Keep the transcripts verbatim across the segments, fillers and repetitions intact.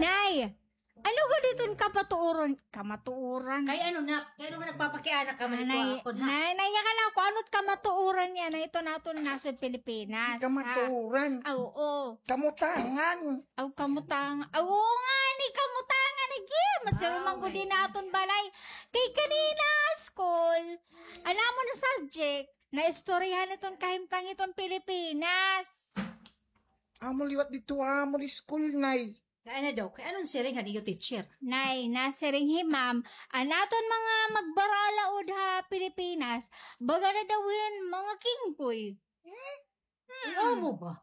Nay, ano gud iton kamatuoran? Kamatuoran. Kay ano na, kay ano nga nagpapakiana ka man ito Nay, akon, ha? Nay, Nay, yakan ako, ano't kamatuoran niya na ito naton nasod Pilipinas, ha? Kamatuoran. Ah, oo. Kamutangan. Aw, kamutangan. Aw, oo nga, ni kamutangan, agi. Masiro man gud din naton balay. Kay kanina, school, an amon na subject, naistoryahan iton kahimtang iton Pilipinas. Amo liwat didto, amo di school, Nay. Kay ano daw? Kay anon siring han iyo teacher? Nay, nasiring hi ma'am, an aton mga magbaralaod ha Pilipinas, baga na daw hin mga kingkoy. Hmm? Amo ba?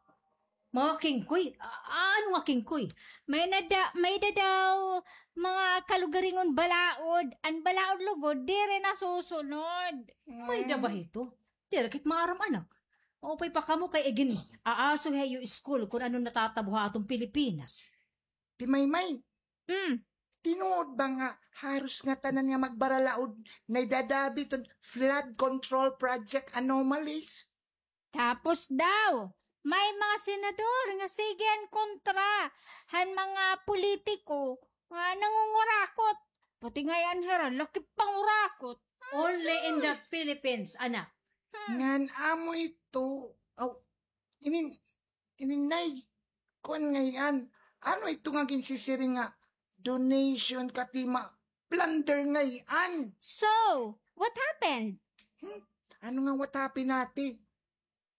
Mga kingkoy? A-, ano nga kingkoy? May nada-, may da daw mga kalugaringon balaod. An balaod lugod, diri nasusunod. May da ba hito? Diri kit maaram, anak. Maupay pa kamo kay igin-aaso ha iyo school kun ano natatabo ha aton Pilipinas. Ti Maymay, mm, tinuod ba nga haros ngatanan nga magbaralaod nadadabi iton flood control project anomalies? Tapos daw, may mga senador nga sige an kontra han mga politiko nga nangungurakot. Pati ngay-an hira, laki pangurakot. Only in the Philippines, anak. Hmm. Ngan amo ito, aw, inin, inin, Nay, kuan ngay-an. Ano ito nga ginsisiring nga donation katima plunder ngay-an? So, what happened? Hmm? Ano nga what happened, ate?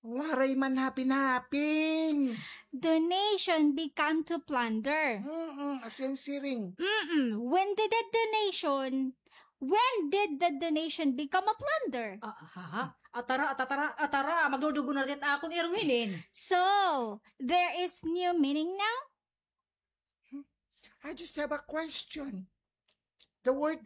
Waray man happen-happen. Donation become to plunder. Mm-mm, asya an siring. Mm-mm. When did the donation, when did the donation become a plunder? Ah, ha? Atara, atatara, atara, magdudugo na rin akon irong hinin. So, there is new meaning now? Hmm? I just have a question. The word